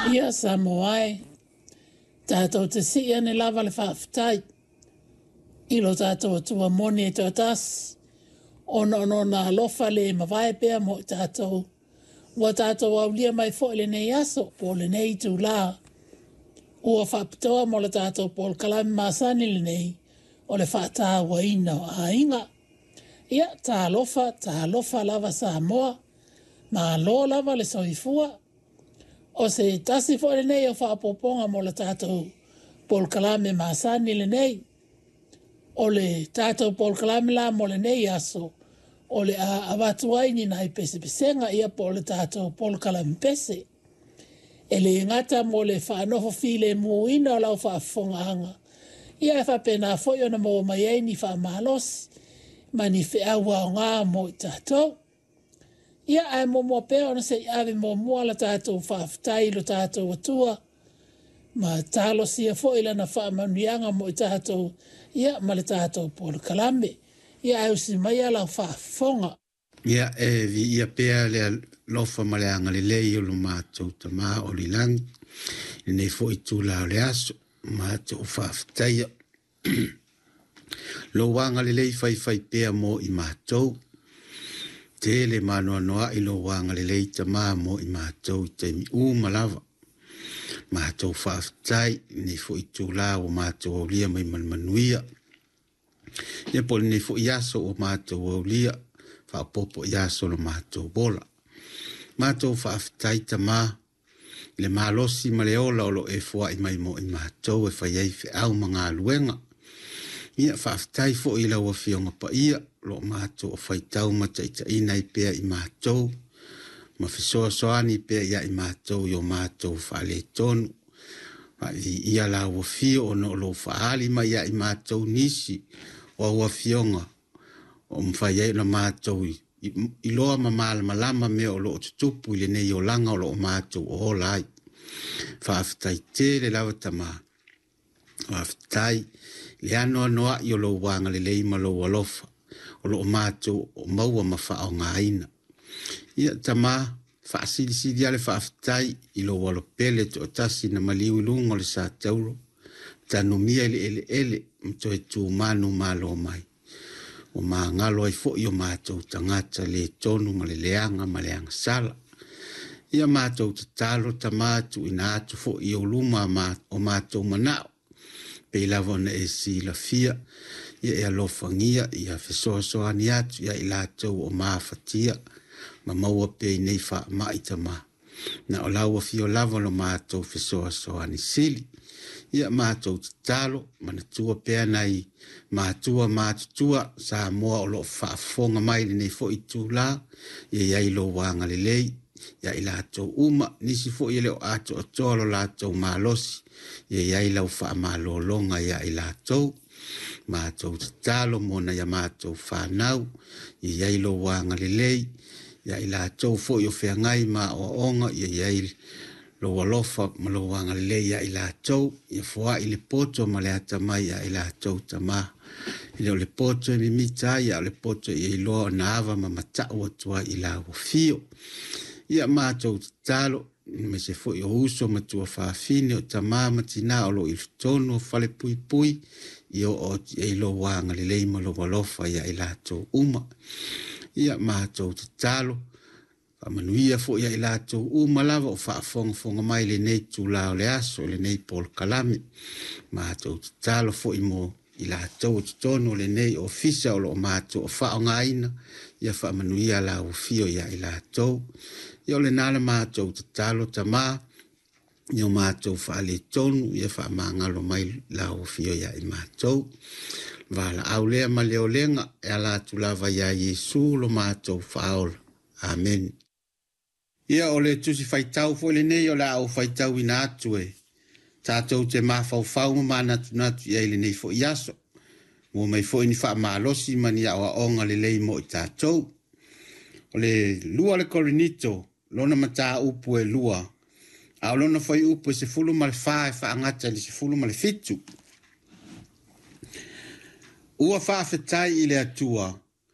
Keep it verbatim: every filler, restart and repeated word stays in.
Ia Samoa e, tatou te sii ane lava le faafetai i lo tatou Atua moni e toatasi, ona o lona alofa le mavae pea mo i tatou, ua tatou aulia mai foi lenei aso po o lenei itulā ua faapitoa mo le tatou polokalame masani lenei o le faatauaina o aiga. Ia, talofa, talofa lava Samoa, malo lava le soifua. O se tasi foi lenei o faaopoopoga mo le tatou polokalame masani lenei. O le tatou polokalame la mo lenei aso, o le a avatu ai ni nai pesepesega ia po o le tatou polokalame pese. E le gata mo le faanofo filemuina o lau faafofogaaga, ia e faapena foi ona maua mai ai ni faamalosi ma ni feau aoga mo i tatou. Ia ae muamua pea ona se i ave muamua la tatou faafetai i lo tatou Atua ma talosia foi lana faamanuiaga mo i tatou ia ma le tatou polokalame. Ia ae usi maia lau faafofoga. Ia e viia pea le alofa ma le agalelei o lo matou Tama o le lagi, lenei foi itula o le aso, matou faafetaia. Lou agalelei faifai pea mo i matou, tele maanoanoa'i lou agalelei Tama mo i matou i taimi uma lava. Matou faafetai lenei foi itula ua matou aulia mai ma le manuia. Ia po o lenei foi aso ua matou aulia, faaopoopo i aso o lo matou ola. Matou faafetai Tama i le malosi ma le ola o lo o e foai mai mo i matou e fai ai feau ma galuega. Ia faafetai foi i lau Afioga Paia o lo o matou o faitau ma taitaiina ai pea i matou, ma fesoasoani pea ia i matou i o matou faaletonu. Faavii lau afio ona o lou faaali mai ia i matou nisi o au afioga o mafai ai ona matou iloa ma malamalama mea o lo o tutupu i lenei olaga o lo o matou ola ai. Faafetai tele lava Tama. Faafetai le anoanoai o lou agalelei ma lou alofa o lo o matou o maua ma faaaogaina. Ia Tama, faasilisili lava le faafetai i lou alopele toatasi na maliu i luga o le satauro, tanumia i le eleele ma toe tumanu malo mai. Ua magalo ai foi o matou tagata le tonu ma le leaga ma le agasala. Ia matou tatalo Tama tuuina atu foi i ou luma o matou manao, pei lava ona e silafia, ia e alofagia, ia fesoasoani atu ia i latou o mafatia, ma maua pea i nei faamai Tama. Na o lau afio lava lo matou fesoasoani sili. Ia matou tatalo, manatua pea nai matua matutua Samoa o lo o faafofoga mai lenei foi itula, ia i ai lou agalelei ia i latou uma, nisi foi e le o atoatoa lo latou malosi, ia i ai lau faamalologa ia i latou. Matou tatalo mo nai a matou fanau, ia i ai lou agalelei ia i latou foi o feagai ma aoaoga, ia i ai lou alofa ma lou agalelei ia i latou, ia foai le poto ma le atamai ia i latou Tama. E le o le poto e mimita ai, a o le poto ia iloa ona ava ma matau atu ai i lau afio. Ia matou tatalo, aemaise foi o uso ma tuafafine o tama ma tina o lo o i totonu o falepuipui, ia oo atu i ai lou agalelei ma lou alofa ia i latou uma. Ia matou tatalo, faamanuia foi ia i latou uma lava o faafogafoga mai lenei itula o le aso, lenei polokalame. Matou tatalo foi mo i latou o totonu o lenei ofisa o lo o matou o faaaogaina, ia faamanuia lau afio ia i latou. Ia o lena le matou tatalo Tama, ia o matou faaletonu, ia faamagalo mai lau afio ia i matou. Valaau lea ma le olega e ala atu lava ia Iesu lo matou faaola. Amene. Ia o le tusi faitau foi lenei o le a ou faitauina atu e tatou te mafaufau ma manatunatu i ai lenei foi aso. Maua mai foi ni faamalosi ma ni aoaoga lelei mo i tatou. O le lua le Korinito, lona mataupu e lua, a o lona fuaiupu e sefulu ma le fa e faagata i le sefulu ma le fitu. Ua faafetai i le Atua